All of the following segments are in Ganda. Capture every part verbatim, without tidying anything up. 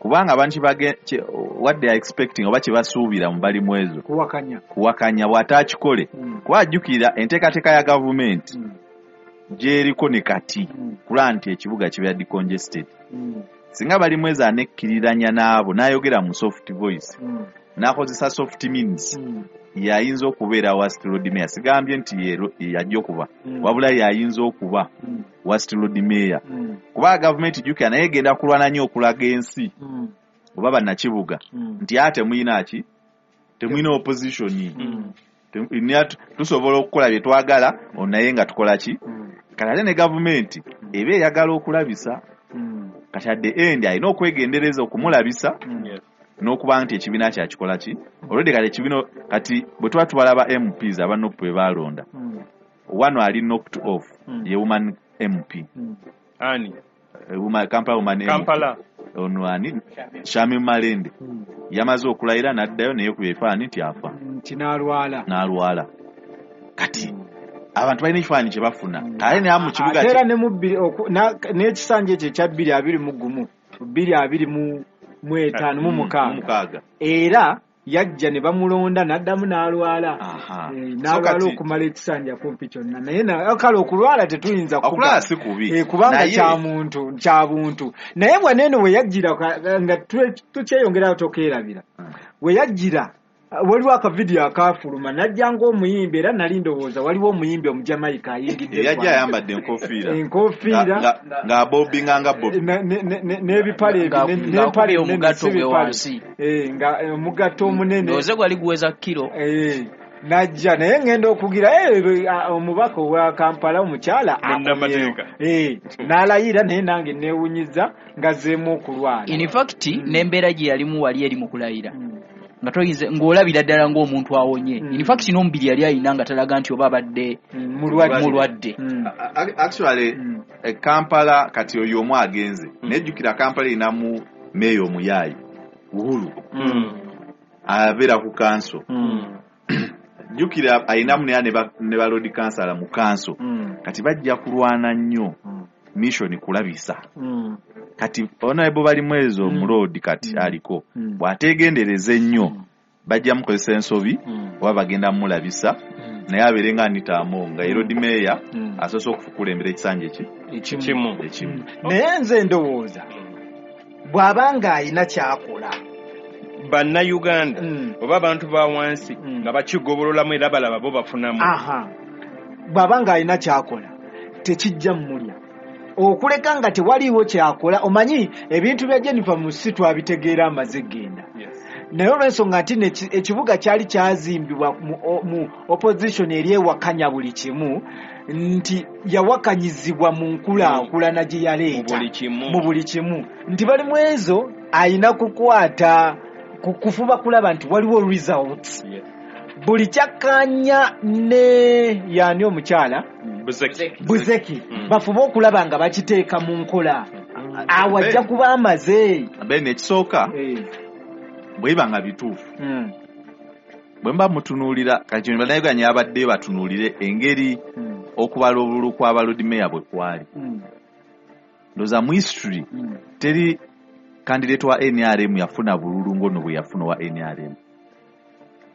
Kubanga abantu kye what they are expecting oba kye basuubira mu Balimwezo kuwakanya kuwakanya bw'ataakikole. Mm. Kuba ajjukira enteekateeka ya gavumenti Mm. gy'eriko ne kati Mm. kulaba nti ekibuga kibeera decongested. Mm. Singa Balimwezo anekkiriranya n'abo n'ayogera mu soft voice, Mm. n'akozesa soft means, Mm. yayinza okubeera worst Lord Mayor. Sigambye nti ye yajja okuba, Mm. wabula yayinza okuba Mm. worst Lord Mayor. Mm. Kuba gavumenti jjukira naye egenda kulwana nnyo okulaga ensi Mm. oba bannakibuga Mm. nti ate temulina ki, temulina opposition. Mm. Tem-, tusobola okukola bye twagala naye nga tukola ki. Mm. Kati ate ne gavumenti eba eyagala okulabisa. Mm. Kati at the end alina okwegendereza okumulabisa Mm. Yes. n'okuba nti ekibiina kyakikola ki. Already kati ekibiina kati bwe tuba tubalaba M Ps aba N U P bwe baalonda, Mm. wano ali knocked off Mm. ye woman M P. Mm. Ani? Eh, woman, Kampala woman M P. Kampala. Ono ani? Shamim Malende. Mm. Yamaze okulayira n'addayo naye ku ebifaananyi nti afa. Nti n'alwala. N'alwala. Kati abantu balina ekifaananyi kye bafuna. Mm. Kale naye mu kibuga Ate era kye- ne mu bbiri, oku-, na-, n'ekisanja ekyo ekya bbiri abiri mu gumu, bbiri abiri mu, mu etaano, mu Mm, mukaaga. mu mukaaga. Era yajja ne bamulonda n'addamu n'alwala. Aha. Eh, So n'alwala kati okumala ekisanja kumpi kyonna. Naye na-, kale okulwala tetuyinza kuba. Okulwala si kubi. Eh, kubanga Naye kya muntu, kya buntu. Naye bw'ano eno we yajjira ka-, nga tu-, tukyeyongerayo tokeerabira. Mm. We yajjira, waliwo akavidiyo akaafuluma, n'ajja ng'omuyimbi, era nali ndowooza waliwo omuyimbi Omujamaika ayingidde Yajja eggwanga. ayambadde enkofiira. Enkofiira. Nga, nga, ng'abobinga nga Bobi. Ne, ne, ne, ne, n'ebipale Nga- ebinene, nga n'empale akubye ennene, omugatto si gwe bipale. wansi. Eh, nga, eh, omugatto omunene. Ndowooza gwali guweza kiro. Eh, n'ajja, naye ngenda okugira, eh, eh, omubaka owa Kampala omukyala Munnamateeka. akomyewo. Eh, n'alayira, naye nange neewunyiza ngazzeemu okulwala. In fact, Mm. n'embeera gye yalimu wali eri mu kulayira. Mm. Nga toyinza, ng'olabira ddala ng'omuntu awonye. Mm. In fact, n'omubiri yali alina nga talaga nti oba abadde Mm, mulwadde. mulwadde. Mm. A-, a-, actually, Mm. e Kampala kati oyo omu agenze. Mm. Nejjukira Kampala erinamu meeya omuyaayi, Uhuru. Mm. Abeera ku kanso. Mm. Jjukira alinamu naye ne ba-, ne ba Lord Kansala mu kanso. Mm. Kati bajja kulwana nnyo Mm. mission kulabisa. Mm. Kati Honorable Balimwezo Mm. Mulodi kati Mm. aliko. Mm. Bw'ateegendereza ennyo, Mm. bajja mukozesa ensobi, Mm. oba bagenda mulabisa, Mm. naye abeere nga Anita Among, nga ye Lord Mm. Mayor, Mm. asoose okukulembera ekisanja eki? Ekimu. Ekimu. Ekimu. Mm. Naye nze ndowooza, bw'aba ng'alina ky'akola, Bannayuganda, Mm. oba abantu ba wansi, Mm. nga bakigobololamu era balaba bo bafunamu. Aha. Bw'aba ng'alina ky'akola, tekijja mmulya. Okuleka nga tewaliiwo kyakola, omanyi ebintu bya Jennifer Musisi twabitegeera amaze genda. Yes. Naye olw'ensonga nti ne-, ekibuga kyali kyazimbibwa mu, mu opposition eri ewakanya buli kimu, nti yawakanyizibwa mu nkulaakulana gye yaleeta. Mu buli kimu. Mu buli kimu. Nti Balimwezo alina kukwata, ku-, kufuba kulaba nti waliwo results. Yes. Buli kyakkaanya ne yaani omukyala? Buzeki. Buzeki. Mm. Bafube okulaba nga bakiteeka mu nkola. Mm. Awo ajja kuba amaze. Ben, ekisooka, Eh. bwe biba nga bituufu. Mm. Bwe mba mutunuulira, kati kino bannayuganda abadde batunuulire engeri Mm. okubala obululu kwa Lord Mayor bwe kwali. Mm. Ndowooza mu history, Mm. teri candidate wa N R M yafuna bululu ng'ono bwe yafuna wa N R M.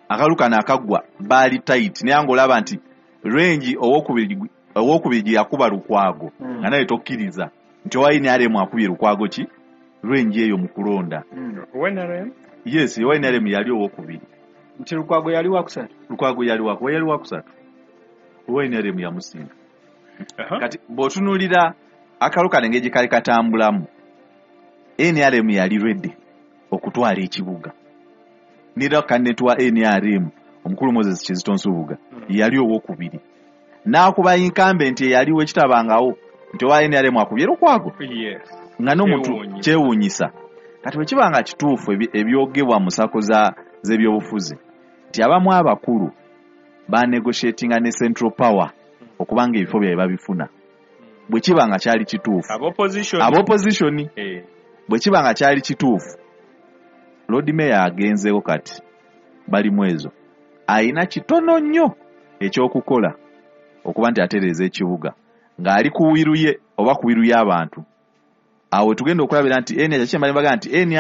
Akalulu kano akaggwa baali tight, naye ng'olaba nti range owokubiri, owokubiri gye yakuba Lukwago, Mm. nga naye tokkiriza nti owa N R M akubye Lukwago ki range eyo mu kulonda. Mm. Owa N R M? Yes, owa N R M yali owokubiri. Nti Lukwago yali wakusatu? Lukwago yali waku-, yali wakusatu. Owa N R M yamusinga. Aha. Kati bw'otunuulira akalulu kano engeri gye kaali katambulamu, N R M yali ready okutwala ekibuga. Nira candidate wa N R M omukulu Moses Kizito Nsubuga Mm. yali owokubiri. N'akuba incumbent eyaliwo ekitabangawo nti owa N R M akubye Lukwago. Yes. Nga n'omuntu Kyewuunyisa. kyewuunyisa. Kati bwe kiba nga kituufu ebi-, ebyogebwa mu sako za-, z'ebyobufuzi nti abamu abakulu banegotiatinga ne Central Power okubanga ebifo byabwe babifuna. Bwe kiba nga kyali kituufu. Ab'opposition. Ab'opposition. Eh. Bwe kiba nga kyali kituufu, Lord Mayor agenzeeko kati Balimwezo ayina kitono nnyo ekyokukola okuba nti atereeza ekibuga ng'ali ku wiru ye oba ku wiru y'abantu. Awo tugenda okulabira nti N R M, kyemba mbaga nti N R